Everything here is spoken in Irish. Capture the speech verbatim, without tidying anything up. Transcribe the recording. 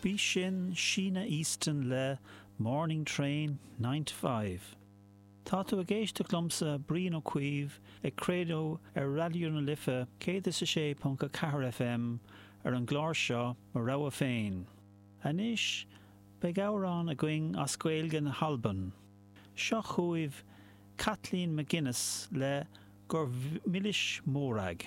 Bhí sin Sheena Easton le Morning Train nine to five. Tá tú ag éisteacht liomsa Brian Ó Cuív ag craoladh ar Raidió na Life céad is a sé ponc a ceathair FM ar an gclár seo Mo Rogha Féin. Anois beidh amhrán againn as Gaeilge na hAlban. Seo chugaibh Kathleen MacInnes le gur Mhilis Mòrag.